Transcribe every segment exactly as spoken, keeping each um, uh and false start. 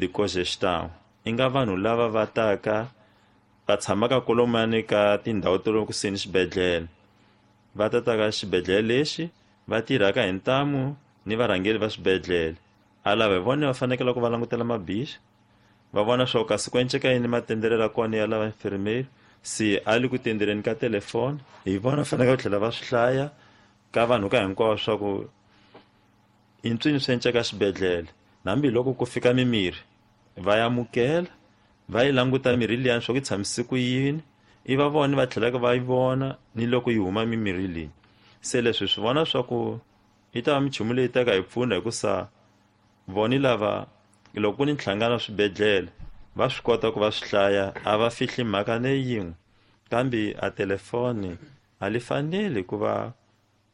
de cogestão i nga vanhu lava va taka va tshamaka kolomani ka tindhawu ta le kusuhi ni xibedhlele va ta ta ka xibedhlele lexi va tirhaka hi ntamu ni varhangeri va swibedhlele a lava hi vona va fanekele ku va langutela mabixi va vona swa ku kasi ku enceka yini matenderelo ya kona ya lava infirmeri se a le ku tendereni ka telefoni hi vona fanekele ku tlhela va swi hlaya ka vanhu ka hinkwavo swa ku i ntswini swi enceka xibedhlele hambiloko ku fika mimirhi va ya amukela va yi languta mirhi liyani swa ku yi tshamise ku yini i va vona va tlhelaka va yi vona ni loko yi huma mimirhi leyi se leswi swi vona swa ku yi ta va minchumu leyi taka hi pfuna hikusa voni lava loko ku ni nhlangano wa swibedhlele va swi kota ku va swi hlaya a va fihli mhaka ne yin'we kambe a telefoni a li faneli ku va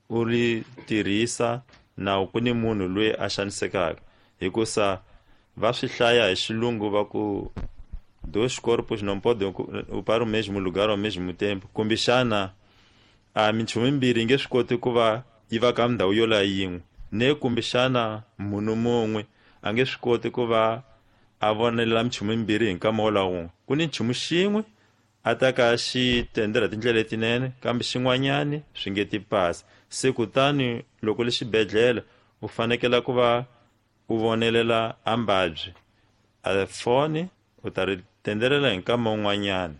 u ri tirhisa nawu ku ni munhu loyi a xanisekaka hikusa va swi hlaya hi xilungu va ku dois corpos não podem ocupar o mesmo lugar ao mesmo tempo kumbexana a minchumu yimbirhi yi nge swi koti ku va yi va ka ndhawu yo la yin'we ne kumbexana munhu mun'we a nge swi koti ku va a vonelela minchumu yimbirhi hi nkama wolawo wun'we ku ni nchumu xin'we a ta ka xi tendela tindlela letinene kambe xin'wanyani swi nge ti pasi se kutani loko le xibedhlele u fanekela ku va u vonelela a mbabyi a foni u ta ri tendelela hi nkama wun'wanyana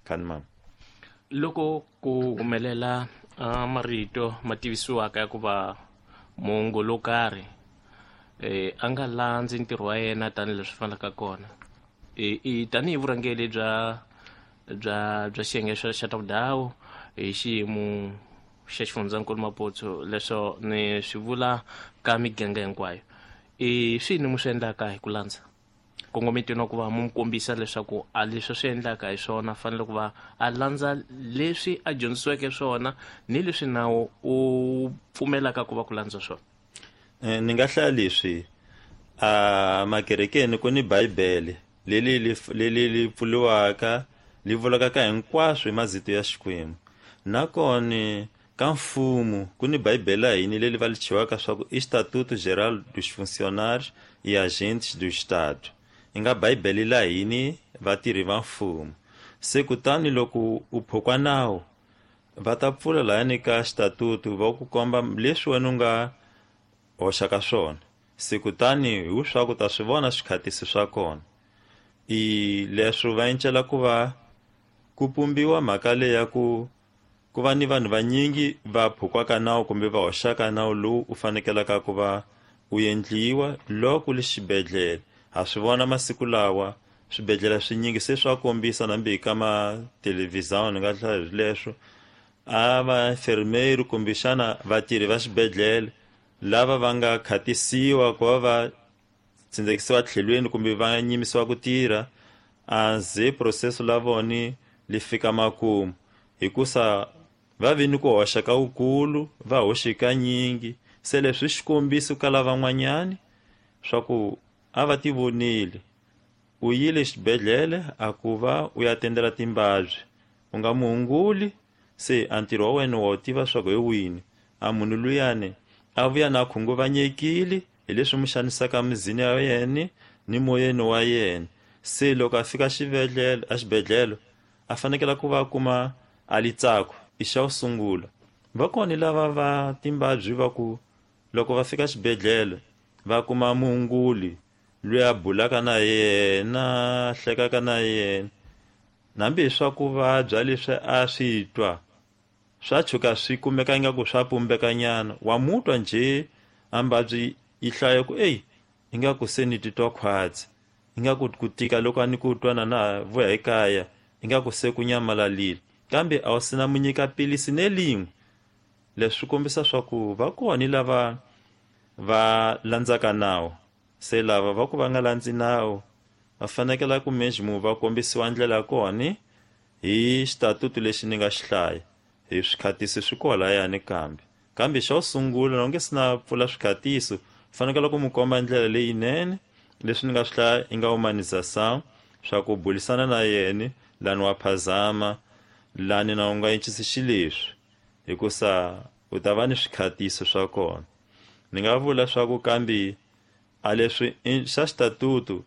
khani mama loko ku humelela uh, marito ma tivisiwaka ya ku va muongori wo karhi eh, a nga landzi ntirho wa yena tanihileswi fanelaka kona e, i tanihi vurhangeri bya bya bya xiyenge xa xa ta vudhawu hi xiyimo xa xifundzankulu Maputo leswo ni swi vula ka miganga hinkwayo i swini mu swi endlaka hi ku landza kongometweni wa ku va mu n'wi kombisa leswaku a leswi swi endlaka hi swona fanele ku va a landza leswi a dyondzisiweke swona ni leswi nawu u pfumelaka ku va ku landza swona Eh, ni nga hlaya leswi a makerekeni ku ni bibele leli leli li pfuriwaka li vulaka ka hinkwaswo hi mazito ya Xikwembu nakona ka mfumo ku ni bibele ya hina leli va li chiwaka swa ku Estatuto Geral dos Funcionários e Agentes do Estado yi nga bibele la hini vatirhi va mfumo se kutani loko u phukwa nawu va ta pfula lahani ka xitatutu va ku komba leswi wena u nga hoxaka swona se kutani hi swa ku ta swi vona swikhatisi swa kona i leswo va encela ku va ku pumbiwa mhaka leyi ya ku ku va ni vanhu vanyingi va phukwaka nawu kumbe va hoxaka nawu lowu u fanekelaka ku va u endliwa loko le xibedhlele ha swi vona masiku lawa swibedhlele swinyingi se swa kombisa nambi hi ka mathelevhizani ni nga hlaya hi leswo a va enfermeiro kumbexana vatirhi va xibedhlele lava va nga khatisiwa ku va va tsindzekisiwa tlhelweni kumbe va nyimisiwa ku tirha a ze processo la voni li fika makumu hikusa va vi ni ku hoxa ka wukulu va hoxe kanyingi se leswi xikombiso ka lavan'wanyani swa ku a va ti vonile u yile xibedhlele a ku va u ya tendela timbabyi u nga muhunguli se a ntirho wa wena wa wu tiva swa ku hi wini a munhu luyani a vuya na khunguvanyekile hi leswi mu xanisaka mizini ya yena ni moyeni wa yena se loko a fika xibedhlele a xibedhlele a fanekele ku va kuma a litsako i xa ku sungula va kona lava va timbabyi va ku loko va fika xibedhlele va kuma muhunguli loyi a bulaka na yena hlekaka na yena nambi hi swa ku vabya leswi a swi twa swa tshuka swi kumeka ingaku swa pumbekanyana wa mutwa njhe a mbabyi yi hlaya ku eyi ingaku se ni titwa khwatsi ingaku ku tika loko a ni ku twa na na vuya ekaya ingaku se ku nyamalalile kambe a wu sina mu nyika pilisi ne lin'we leswi swi kombisa swa ku va kona lava va landzaka nawu se lava va ku va nga landzi nawu va fanekela ku mesmo va kombisiwa ndlela ya kona hi xitatutu lexi ni nga xi hlaya hi swikhatisi swi kolayani kambe kambe xa ku sungula loko nge si na pfula swikhatiso fanekele ku mu komba ndlela leyinene leswi ni nga swi hlaya i nga humanização swa ku bulisana na yena lani wa phazama lani na u nga encisi xileswi hikusa u ta va ni swikhatiso swa kona ni nga vula swa ku kambe a leswi xa xitatutu